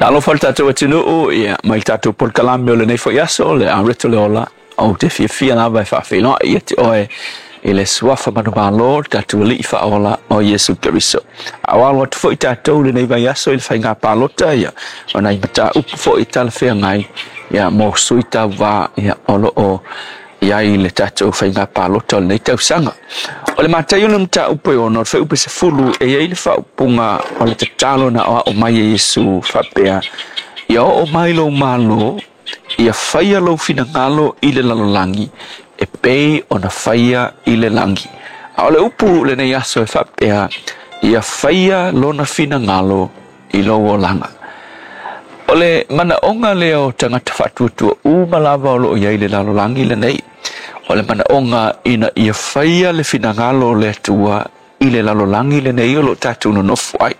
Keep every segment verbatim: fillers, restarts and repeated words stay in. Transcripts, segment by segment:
Talofa le tatou atunuu, ia mai tatou polokalame o lenei foi aso, le Aureto le Ola, ou te fiafia lava e faafeiloai ia te oe i le suafa manumalo, le tatou Alii faaola o Iesu Keriso. A o alo atu foi tatou lenei vaiaso i le faiga palota, ia o nai mataupu foi talafeagai ia mo sui tauvā ia o loo i ai le tatou faiga palota o lenei tausaga. O le Mataio le mataupu e ono, o le fuaiupu sefulu, e i ai le faaupuga o le tatalo na aoao mai e Iesu faapea, ia oo mai lou malo, ia faia lou finagalo i le lalolagi, e pei ona faia i le lagi. A o le upu lenei aso e faapea, ia faia lona finagalo i lou olaga. O le manaoga lea o tagata faatuatua uma lava o loo i ai le lalolagi lenei. O le manaoga ina ia faia le finagalo o le Atua i le lalolagi lenei o loo tatou nonofo ai.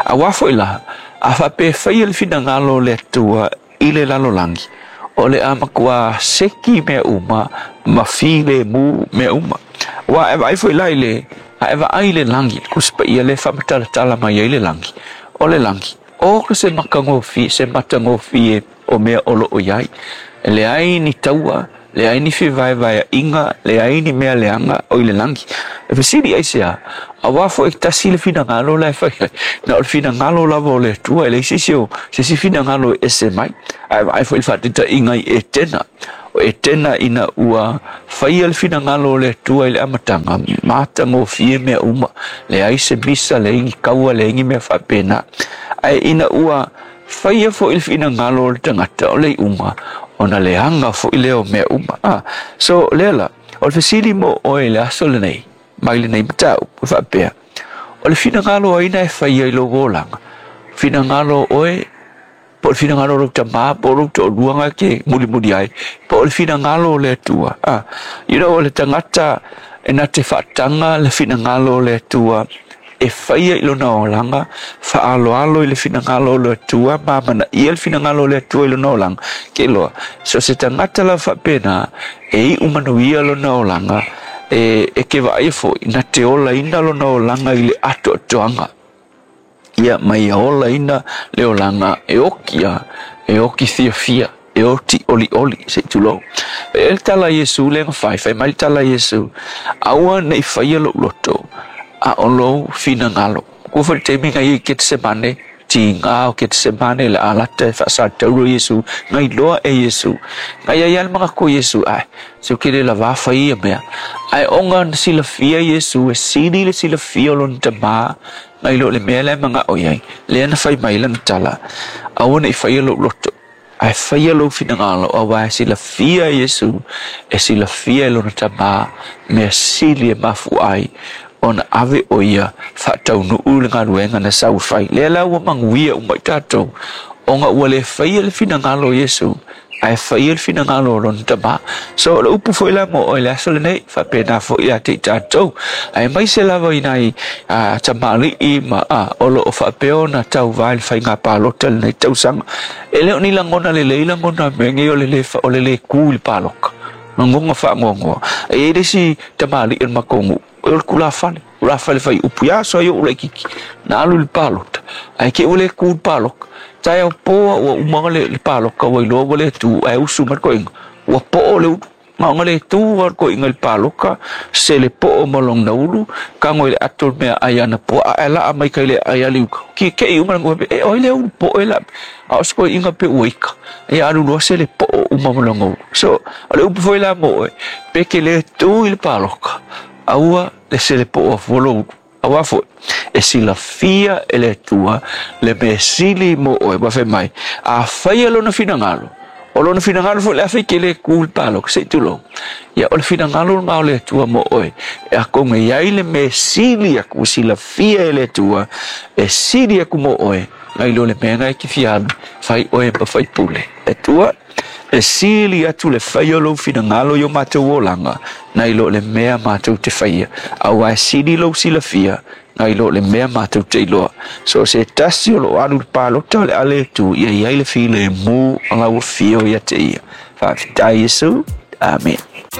Auā foi la, a faapea e faia le finagalo o le Atua i le lalolagi, o le a matua seki mea uma ma filemu mea uma. Ua e vaai foi la i le, a e vaai i le lagi, le Tusi Paia lea e faamatalatala mai ai le lagi. O le lagi, o ka se matagofie, se matagofie o mea o loo i ai. E leai ni taua, leai ni fevaevaeaiga, leai ni mea leaga o i le lagi. E fesili aisea, auā foi e tasi le finagalo la e fai ai. Na o le finagalo lava o le Atua, e leai se isi o se isi finagalo e ese mai. Ae vaai foi i le faataitaiga i Etena. O Etena ina ua faia le finagalo o le Atua i le amataga, matagofie mea uma, leai se misa, leai ni kaua, leai ni mea faapena. Ae ina ua faia foi le finagalo o le tagata o le iuga, ona leaga foi lea o mea uma. Ah, so lea la, o le fesili mo oe i le aso lenei, mai lenei mataupu, e faapea, o le finagalo ai na e faia i lou olaga, finagalo oe, po o le finagalo o lou tamā, po o lou toalua na e te mulimuli ai, po o le finagalo o le Atua. Ah, you know, o le tagata e na te faataga le finagalo o le Atua e faia i lona olaga, faaaloalo i le finagalo o le Atua, ma amanaia le finagalo o le Atua i lona olaga. Ke iloa, so se tagata lava faapena, e iu manuia lona olaga, e, e ke vaaia foi, na te olaina lona olaga i le atoatoaga. Ia, ma ia olaina le olaga e oki a, e oki fiafia, e oti olioli, se i tulou. E le tala a Iesu lea na fai, fai mai le tala a Iesu, aua ne i faia lou loto, a o lou finagalo. Kua foi le taimi na ia i Ketesemane, tiga o Ketesemane le alata e faasatauro Iesu, na iloa e Iesu. Na ia ia le manatu o Iesu, ai, se o ke le lavā fai ia mea. Ae ona na silafia Iesu, e sili le silafia o lona tamā, nai lo le mea lea e manao i ai. Lea na fai mai lana tala, aua ne i faia lou loto, ae faia lou finagalo, auā e silafia e Iesu, e silafia e lona tamā, mea sili e mafua ai ona ave o ia faataunuu le galuega na sau e fai. Lea la ua manuia uma i tatou, ona ua le faia le finagalo o Iesu, ae faia le finagalo o lona tamā. So o le upu foi la mo oe i le aso lenei, faapena foi ia te i tatou. Aemaise lava i nai a, tamalii ma a, o loo faapea ona tauvā i le faiga palota lenei tausaga. E le o ni lagona lelei lagona mea nei o le lē o le lē kū i le paloka. Lagona faanoanoa. E i ai le isi tamalii o le matou nuu, o le tulafale, tulafale fai upu ia aso ai ou laitiiti, na alu i le palota, ae te i ua le tu i le paloka. Taeao po a ua uma le, le paloka ua iloa ua le tu, ae usu mai le toeaina, ua poo le ulu. Na ona le tu lava le toeaina i le paloka, sele poo ma lona ulu, tago i le ato le meaai ana puaa, ae laa mai tai le aai ali uka. Kikei uma le nuu, e oi le ulu poo e la, a o se toeaina pe ua ika, ia alu loa sele poo uma ma lona ulu. So, o le upu foi la mo oe, pe ke le tu i le paloka, aua le sele poo afua lou ulu. Auā foi, e silafia e le Atua le mea sili mo oe, ua fai mai, a faia lona finagalo, o lona finagalo foi le a fai ke le kū i le paloka, se i tulou. Ia, o le finagalo lena o le Atua mo oe, e atonu e i ai le mea sili atu, ua silafia e le Atua, e sili atu mo oe, nai lo le mea na e te fia alu, fai oe ma faipule. Atua, e sili atu le fai o lou finagalo i o matou olaga, nai lo le mea matou te faia, auā e sili lou silafia, nai lo le mea matou te iloa. So o se tasi o loo alu i le palota o le a le tu, ia i ai le filemu o lau afio ia te ia. Faafetai Iesu. Amene.